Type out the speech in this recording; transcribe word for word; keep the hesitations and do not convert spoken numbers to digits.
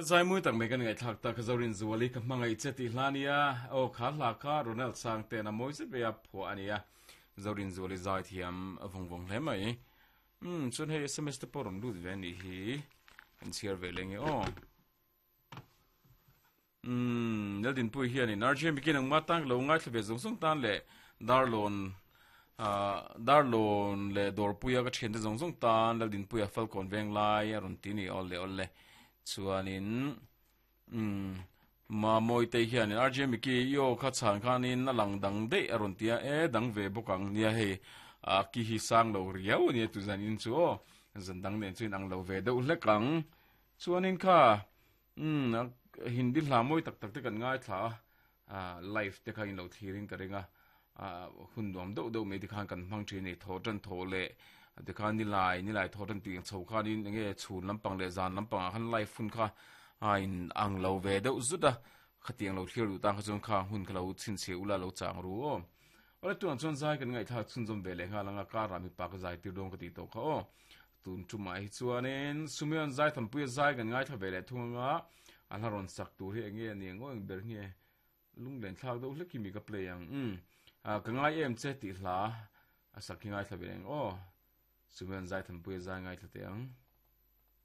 Zai mui tak mai kan ngai thak ta ka zorin zuali ka hmangai che ti hlania o kha hla kha Ronald Sang te na moi se be a pho ania zorin zuali zai thiam vong vong hle mai um chun hei S M S te poron lut ve ni hi an chiar ve lenge o um naldin pui hian in R J M kin ang ma tang lo ngai thlve zong zong tan le darlon a darlon le dor puia ka thian te zong zong tan laldin puia falcon veng lai aron ti ni ol le ol le chuanin um ma moi te hian R J M ki yo kha chan khanin a lang dang de aron tia e dang ve bokang nia hei a ki hi sang lo riau ni tu zan in chu zan dang nen chuin ang lo ve deuh hlekang chuanin kha um hindi hla moi tak tak te kan ngai thla a live te kha in lo thirin ka ringa a hun dom do do me ti khan kan hmang thi ni tho tan tho le te khan ni lai ni lai tho tan ti chho khan in nge chhun lampang le zan lampang khan live hun kha a in ang lo ve deuh zuta khatiang lo thlir lu tang kha chung kha hun kha lo chin che ula lo chang ru o ora tuan chon zai kan ngai tha chun zom ve le nga langa ka ra mi pa ka zai tir dong ka ti to kha o tun chu mai chuanin sumion zai tham pui zai kan ngai tha ve le thunga an haron sak tur hi enge ani ngoi ber nge lunglen thlak do hleki mi ka play ang um a ka ngai em che ti hla a sak hi ngai tha ve leng o sumion zai tham pui zai ngai tha te ang.